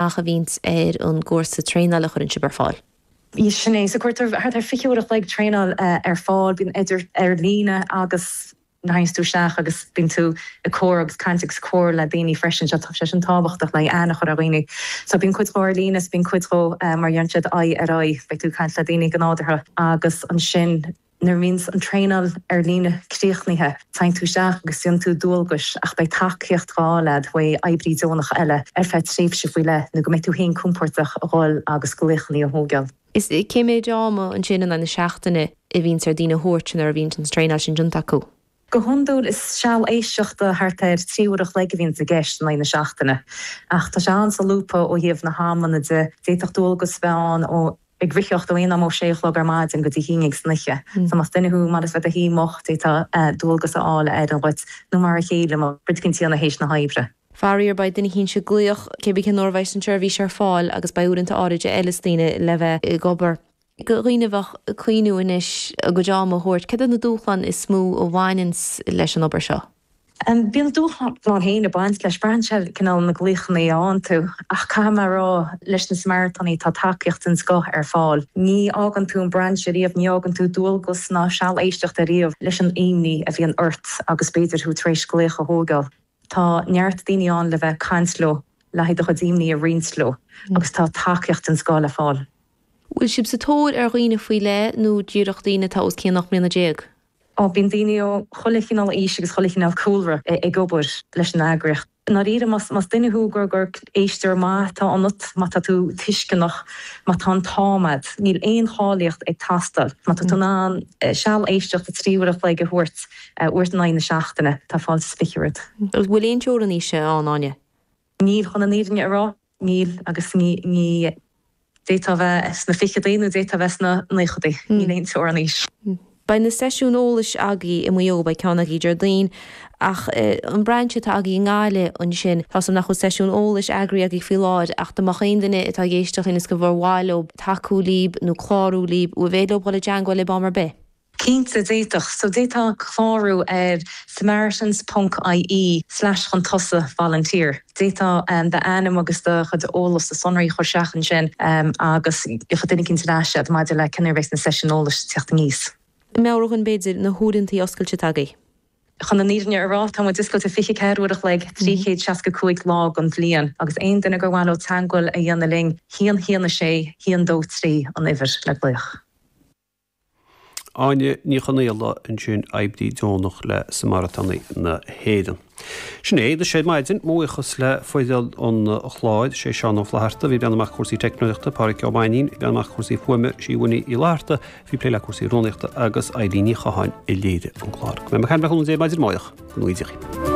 a bhíonns ar an gcúrsa traenála a chuireann sibh ar fáil. Sin é. So cuirtear thart ar 20 uair a chloig traenáil ar fáil, bíonn idir ar líne agus théann tú isteach agus bíonn tú ag comhrá agus caint agus comhrá le daoine freisin. Tá sé sin tábhachtach le aithne a chur ar dhaoine. So bíonn cuid dhó ar líne is bíonn cuid dhó mar a deireann siad aghaidh ar aghaidh, beidh tú ag caint le daoine go nádúrtha agus ansin nuair a bhíonns an traenáil ar líne críochnaithe, téann tú isteach agus déanann tú dualgais ach beidh tacaíocht á fháil agat ó oibrí deonach eile ar feadh tréimhse faoi leith nó go mbeidh tú féin compordach a dhul agus glaochanna a thógáil. Is cé méid ama ansin in aghaidh na seachtaine a bhíonns ar daoine a thabhairt nuair a bhíonns an traenáil sin déanta acu? Go hiondúil is seal éisteachta thart ar 3 uair a chloig a bhíonns i gceist in aghaidh na seachtaine. Ach tá sé an-solúbtha ó thaobh na hamanna de. D'fhéadfadh dualgas a bheith ann ó ag ritheacht ó aon am ó sé a chlog ar maidin go dtí a haon déag san oíche. So más duine thú maith leat bheith i do shuí moch, d'fhéadfá dualgas a fháil a fheileann dhuit, nó mar a chéile má rud éicint a dhéanamh théis na hoibre. Faraor, beidh duine eicínt ag glaoch cé bith cén uair a bheidh an tseirbhís ar fáil agus beidh uaireanta áirid a fheileas daoine le bheith ag obair. Do dhaoine a bheadh ag cuimhniú anois a gcuid ama a thabhairt, céard iad na dúshláin is mó a bhaineanns leis an obair seo? Bíonn a dúshláin féin ag baint leis, braitheann sé cineál na glaochanna a fhaigheann tú. Ach caithfidh mé a rá, leis na Samaritánaigh tá tacaíocht den scoth ar fáil. Ní fhágann tú an brainse riamh, ní fhágann tú dualgas ná seal éisteachta riamh leis an imní a bhíonn ort agus b'fhéidir thú tar éis glaoch a thógáil. Tá neart daoine ann le bheith ag caint leo, le haghaidh do chuid imní a roinnt leo agus tá tacaíocht den scoth le fáil. Bhfuil sibh sa tóir ar dhaoine faoi leith nó díreach daoine atá os cionn 18 mbliana? Ó, bíonn daoine ó chuile chineál aois agus chuile chineál cúlra ag obair leis an eagraíocht. I ndáiríre, más duine thú gur gur éisteoir maith atá ionat, má tá tú tuisceanach, má tá an t-am agat, níl aon cháilíocht ag teastáil. Má tá tú in ann seal éisteachta 3 uair a chloig a thabhairt, uair in aghaidh na seachtaine. Tá fáilte is 20 romhat. An bhfuil aon teorainn aoise ann, Áine? Níl, chun an fhírinne a rá, níl agus ní, ní, d'fhéadfá a bheith sna ficheadaí nó d'fhéadfá a bheith sna naochadaí. Níl aon teorainn aois. Beidh na seisiúin eolais agaibh i Maigh Eo, beidh ceann agaibh Déardaoin, ach an brainse atá agaibh i nGaillimh ansin, tá 's agam nach bhfuil seisiún eolais eagraithe agaibh faoi láthair ach dá mbeadh aon duine atá ag éisteacht linn is gur mhaith leo tacú libh nó clárú libh, an féidir leo dhul i dteangmháil libh am ar bith? Cinnte, d'fhéadfadh. So d'fhéadfá clárú ar samaritans ponc ie slash chun tosaigh volunteer. D'fhéadfá d'ainm agus do chuid eolais, do sonraí a chur isteach ansin agus gheobhaidh duine eicínt ar ais iad maidir le cén uair a bheas na seisiúin eolais ag teacht aníos. Meabhraigh dhúinn, b'fhéidir, na huaireantaí oscailte atá agaibh. Chun an fhírinne a rá, tá muid oscailte 24 uair a chloig, 365 lá den bhliain agus aon duine gur mhaith leo teagmháil a dhéanamh linn, 1 1 6 1 2 3 an uimhir le glaoch. Áine Ní Chonaola ansin, oibrí deonach le Samaritánaigh na hÉireann. Sin é anois ar maidin, mo bhuíochas le foireann an chláir, sé Seán Ó Flatharta a bhí ag breathnú amach cúrsaí teicneolaíochta, Pádhraic Ó Mainnín ag breathnú amach cúrsaí fuaime, Síomha Ní Fhlatharta a bhí ag plé le cúrsaí rúnaíochta agus Eilín Ní Chatháin a léirigh an clár. Go mbeidh mé ag caint le cúnamh Dé maidin amárach, go ngnóthaí Dia dhaoibh.